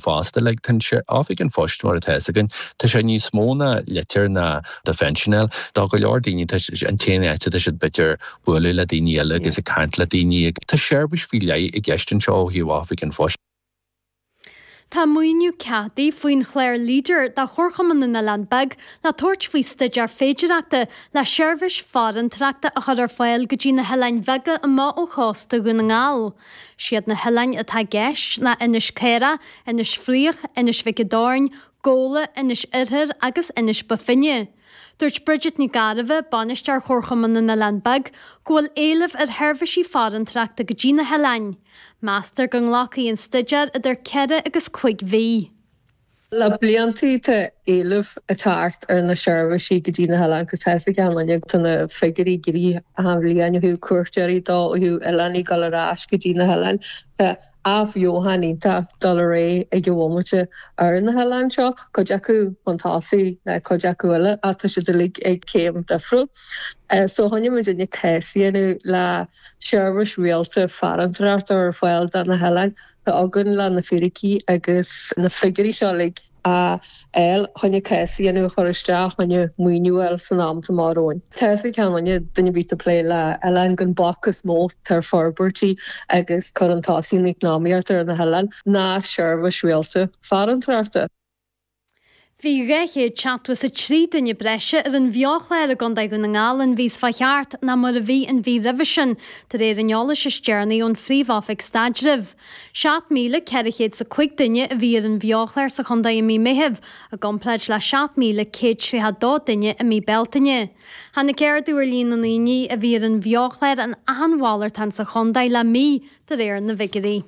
fosta. Like tá an Oifig an Phoist mar atá fhios againn, tá sé níos mó ná litir ná do phension a fháil. Do go leor daoine tá an t-aon áit atá siad b'fhéidir bualadh le daoine eile agus ag caint le daoine. Tá seirbhís faoi leith i gceist anseo ó thaobh Oifig an Phoist. Tá maoiniú ceadaithe faoin chlár Leader do Chomharchumann na nOileán Beag le tabhairt faoi staidéar féidireachta le seirbhís farantóireachta a chur ar fáil go dtí na hoileáin bheaga amach ó chósta Dhún na nGall. Siad na hoileáin atá i gceist ná Inis Caorach, Inis Fraoich, Inis Mhic an Doirn, Gabhla, Inis Oirthir agus Inis Bó Finne. Dúirt Bridget Nic Gairbheith, Bainisteoir Chomharchumann na nOileán Beag, go bhfuil éileamh ar sheirbhísí farantóireachta go dtí na hoileáin. Meastar go nglacfaidh an staidéar idir 4 agus 5 mhí. Le bliantaí tá éileamh ag teacht ar na seirbhísí go dtí na hoileáin agus tá fhios ag achan duine tá na figiúirí ag éirí achan bhliain ó thaobh cuairteoirí dó, ó thaobh oileánaigh ag dul ar ais go dtí na hoileáin. Tá athbheochan iontach ag dul ar aghaidh ag an bhomaite ar na hoileáin seo, cuid acu chun tosaigh ná cuid acu eile ach tá siad uilig ag céim difriúil. So choinnigh muidinne cás a dhéanamh le seirbhís rialta farantóireachta ar fáil do na hoileáin. Tá againn le na fíricí agus na figiúirí seo uilig a fháil choinne cás a dhéanamh a chur isteach choinne maoiniú a fháil san am atá amach romhainn. Tá fhios ag achan duine, duine ar bith atá ag plé le hoileáin gur an bac is mó atá ar forbairtí agus cur chun tosaigh na heacnamaíochta ar na hoileáin ná seirbhís rialta farantóireachta. Bhí 273 duine breise ar an bheo-chlár i gContae Dhún na nGall an mhí seo chuaigh thart ná mar a bhí an mhí roimhe sin, de réir an eolais is deireanaí ón Phríomh-Oifig Staidrimh. 7,405 duine a bhí ar an bheo-chlár sa chontae i mí Meithimh, i gcomparáid le 7,132 duine i mí Bealtaine. Tháinig ardú ar líon na ndaoine a bhí ar an bheo-chlár in achan mhalartán sa chontae le mí, de réir na bhfigiúirí.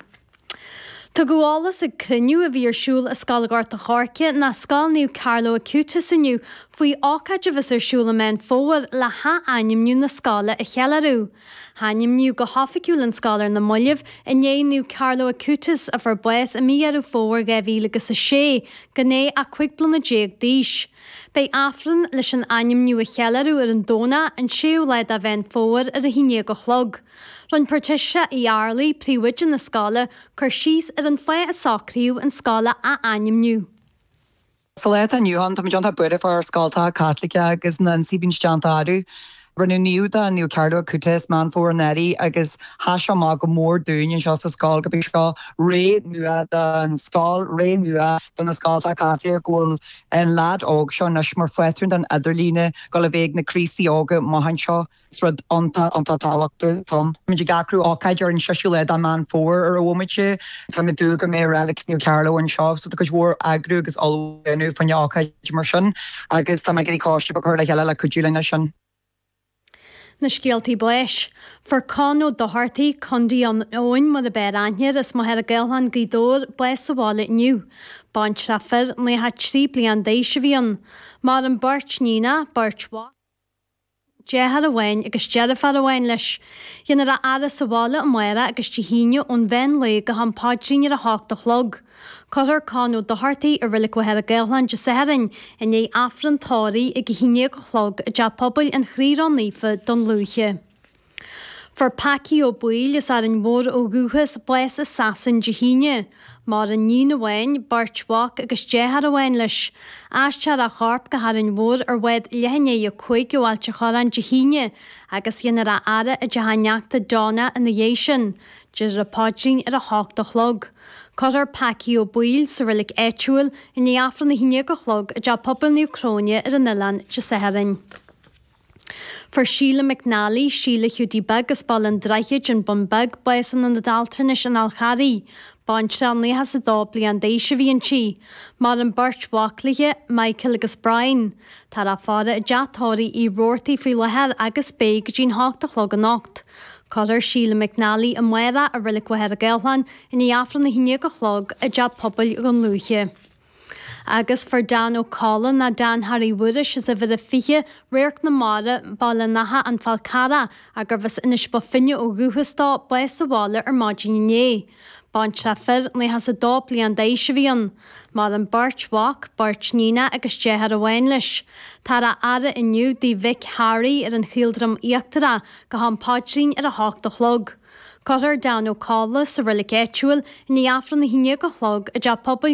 Tugadh eolas ag cruinniú a bhí ar siúl i Scoil Ghort a' Choirce ná Scoil Naomh Carlo Acutis inniu faoi ócáid a bheas ar siúl i Meán Fómhair le hath-ainmniú na scoile a cheiliúradh. Hainmníodh go hoifigiúil an scoil ar na mallaibh i ndiaidh Naomh Carlo Acutis a fuair bás i mí Dheireadh Fómhair 2006 gan é ach 15 bliana d'aois. Beidh Aifreann leis an ainmniú a cheiliúradh ar an Domhnach, an 6ú lá de Mheán Fómhair ar a haon déag a chlog. Rinne Patricia Uí Fhearraigh, príomhoide na scoile, cur síos ar an fáth a socraíodh an scoil a ath-ainmniú. Sa lá atá inniu ann, táimid iontach buartha fá ár scoltacha Caitliceacha agus na hionsaithe a bhíonn déanta orthu. Rinneadh naomh de Naomh Carlo Acutis, Meán Fómhair anuraidh agus sheas sé amach go mór dúinn anseo sa scoil gurb é seo ré nua don scoil, ré nua do na scoltacha Caitliceacha, go bhfuil an leaid óg seo anois mar phátrún don idirlíne, go bhfuil a bheith ag na Críostaí óga amach anseo. Is rud iontach, iontach tábhachtach atá ann. Táimid ag eagrú ócáid ar an seisiú lá de Meán Fómhair ar an bhomaite. Táimid ag dúil go mbeidh reilig Naomh Carlo anseo so tá cuid mhór eagrú agus ullmhú á dhéanamh fá choinne ócáid mar sin agus tá mé ag iarraidh coiste beag a chur le chéile le cuidiú linn leis sin. Na scéaltaí báis. Fuair Con Ó Dochartaigh, Condaí an Eoin mar ab fhearr aithne air, as Machaire Gathlán, Gaoth Dobhair, bás sa bhaile inniu. Baintreach fir, 93 bliain d'aois a bhí ann. Maireann beirt níonach, beirt mhac. deartháir amháin agus deirfiúr amháin leis. Dhéanfar a fhaire sa bhaile amárach agus Dé hAoine ón mheán lae go ham paidrín ar a hocht a chlog. Cuirfear Con Ó Dochartaigh i Reilig Mhachaire Gathlán Dé Sathairn i ndiaidh Aifreann tórraimh ag a haon déag a chlog i dTeach Pobail an Chroí Ró-Naofa, Dún Lúiche. Fuair Packie Ó Baoill, as Árainn Mhór ó dhúchas, bás i Sasain Dé hAoine. Maireann níon amháin, beirt mhac agus deartháir amháin leis. Aistreofar a chorp go hÁrainn Mhór ar bhád leath i ndiaidh a 5 ó Ailt a' Chorráin Dé hAoine agus dhéanfar a fhaire i dteach a neachta Donna ina dhiaidh sin. Déarfar an paidrín ar a hocht a chlog. Cuirfear Packie Ó Baoill sa reilig áitiúil i ndiaidh Aifreann a haon déag a chlog i dTeach Pobail Naomh Cróine ar an oileán Dé Sathairn. Fuair Síle McNally, Síle Hiúdaí Beag as Baile an Droichid, An Bun Beag, bás in ionad altranais an Fháil Charraigh. Baintreach 92 bliain d'aois a bhí inti. Maireann beirt mhac léi, Michael agus Brian. Táthar á faire i dteach tórraimh Uí Robhartaigh faoi láthair agus beidh go dtí'n hocht a chlog anocht. Cuirfear Síle McNally amárach i Reilig Mhachaire Gathlán i ndiaidh Aifreann a haon déag a chlog i dTeach Pobail Dhún Lúiche. Agus fuair Dan Ó Colla ná Dan Harry Mhuiris as uimhir a 20, Radharc na Mara, Baile an Átha, An Fál Carrach, gurbh as Inis Bó Finne ó dhúchas dó, bás sa bhaile ar maidin inné. Baintreach fir, 92 bliain d'aois a bhí ann. Maireann beirt mhac, beirt níonach agus deartháir amháin leis. Táthar á fhaire inniu dtigh mhic Harry ar an Chaoldroim Íochtarach go ham paidrín ar a hocht a chlog. Cuirfear Dan Ó Colla sa reilig áitiúil i ndiaidh Aifreann a haon déag a chlog i dTeach Pobail.